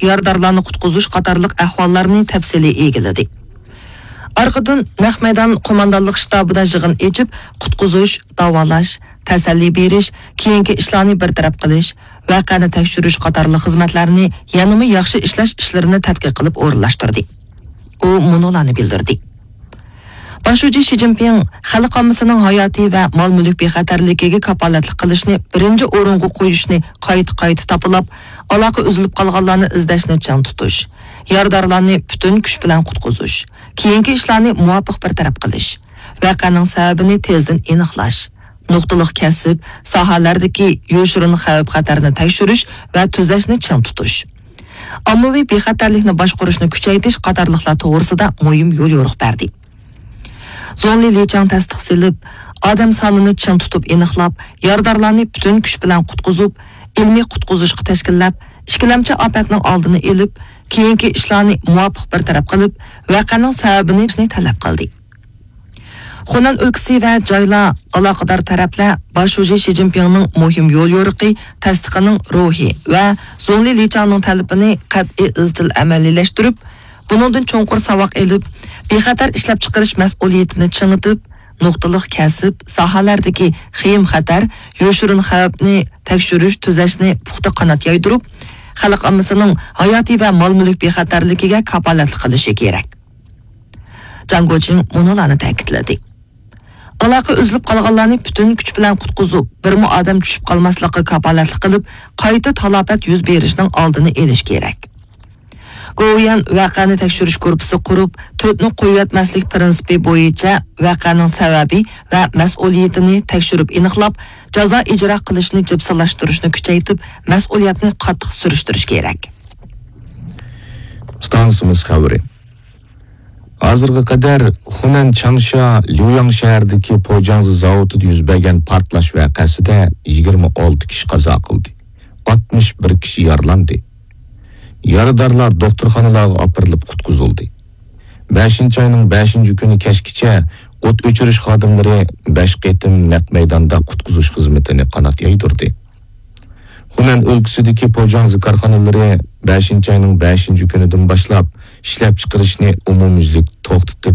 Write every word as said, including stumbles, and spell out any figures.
يارىدارلارنى قۇتقۇزۇش قاتارلىق ئەھۋاللارنى تەپسىلىي ئىگىلىدى. ئارقىدىن نەق مەيدان قوماندانلىق شتابىدا يىغىن ئېچىپ، قۇتقۇزۇش، داۋالاش، تەسەللى بېرىش، كېيىنكى ئىشلارنى بىر تەرەپ قىلىش، ۋەقەنى تەكشۈرۈش قاتارلىق خىزمەتلەرنى يەنىمۇ ياخشى ئىشلەش ئىشلىرىنى تەتقىق قىلىپ ئورۇنلاشتۇردى. ئۇ مۇنۇلارنى بىلدۈردى. باش شۇجى شى جىنپىڭ خەلق ئاممىسىنىڭ ھاياتى ۋە مال-مۈلۈك بىخەتەرلىكىگە كاپالەتلىك قىلىشنى بىرىنچى ئورۇنغا قويۇشنى قايتا-قايتا تاپىلاپ، ئالاقە ئۈزۈلۈپ قالغانلارنى ئىزدەشنى چىڭ تۇتۇش، يارىدارلارنى پۈتۈن كۈچ بىلەن قۇتقۇزۇش، كېيىنكى ئىشلارنى مۇۋاپىق بىر تەرەپ قىلىش، ۋەقەنىڭ سەۋەبىنى تېزدىن ئېنىقلاش، نۇقتىلىق كەسىپ، ساھەلەردىكى يوشۇرۇن خەۋپ-خەتەرنى تەكشۈرۈش ۋە تۈزەشنى چىڭ تۇتۇش، ئاممىۋى بىخەتەرلىكنى باشقۇرۇشنى كۈچەيتىش قاتارلىقلار توغرىسىدا مۇھىم يوليورۇق بەردى. زۇڭلى لىچاڭ تەستىق سېلىپ، ئادەم سانىنى چىڭ تۇتۇپ ئېنىقلاپ، يارىدارلارنى پۈتۈن كۈچ بىلەن قۇتقۇزۇپ، ئىلمىي قۇتقۇزۇشقا تەشكىللەپ، ئىككىلەمچى ئاپەتنىڭ ئالدىنى ئېلىپ، كېيىنكى ئىشلارنى مۇۋاپىق بىر تەرەپ قىلىپ، ۋەقەنىڭ سەۋەبىنى تەلەپ قىلدى. خۇنەن ئۆلكىسى ۋە جايلار، ئالاقىدار تەرەپلەر باش شۇجى شى جىنپىڭنىڭ مۇھىم يوليورۇقى تەستىقىنىڭ روھى ۋە زۇڭلى لىچاڭنىڭ تەلىپىنى قەتئىي ئىزچىل ئەمەلىيلەشتۈرۈپ، بۇنىڭدىن چوڭقۇر ساۋاق ئېلىپ، بىخەتەر ئىشلەپچىقىرىش مەسئۇلىيىتىنى چىڭىتىپ، نۇقتىلىق كەسىپ، ساھەلەردىكى خېيىم-خەتەر، يوشۇرۇن خەۋپنى تەكشۈرۈش، تۈزەشنى پۇختا قانات يايدۇرۇپ، خەلق ئاممىسىنىڭ ھاياتى ۋە مال-مۈلۈك بىخەتەرلىكىگە كاپالەتلىك قىلىشى كېرەك. جاڭ گوچىڭ مۇنۇلارنى تەكىتلىدى. ئالاقە ئۈزۈلۈپ قالغانلارنى پۈتۈن كۈچ بىلەن قۇتقۇزۇپ، بىرمۇ ئادەم چۈشۈپ قالماسلىققا كاپالەتلىك قىلىپ، قايتا تالاپەت يۈز بېرىشنىڭ ئالدىنى ئېلىش كېرەك. گوۋۇيۈەن ۋەقەنى تەكشۈرۈش گۇرۇپپىسى قۇرۇپ، تۆتنى قويۇۋەتمەسلىك پىرىنسىپى بويىچە ۋەقەنىڭ سەۋەبى ۋە مەسئۇلىيىتىنى تەكشۈرۈپ ئېنىقلاپ، جازا ئىجرا قىلىشنى جىپسىلاشتۇرۇشنى كۈچەيتىپ، مەسئۇلىيەتنى قاتتىق سۈرۈشتۈرۈش كېرەك. ئىستانسىمىز خەۋىرى. ھازىرغا قەدەر خۇنەن چاڭشيا ليۇياڭ شەھىرىدىكى پوجاڭزى زاۋۇتىدا يۈز بەرگەن پارتلاش ۋەقەسىدە يىگىرمە ئالتە كىشى قازا قىلدى، ئاتمىش بىر كىشى يارىلاندى. يارىدارلار دوختۇرخانىلارغا ئاپىرىلىپ قۇتقۇزۇلدى. بەشىنچى ئاينىڭ بەشىنچى كۈنى كەچكىچە ئوت ئۆچۈرۈش خادىملىرى بەش قېتىم نەق مەيداندا قۇتقۇزۇش خىزمىتىنى قانات يايدۇردى. خۇنەن ئۆلكىسىدىكى پوجاڭزى كارخانىلىرى بەشىنچى ئاينىڭ بەشىنچى كۈنىدىن باشلاپ ئىشلەپچىقىرىشنى ئومۇميۈزلۈك توختىتىپ،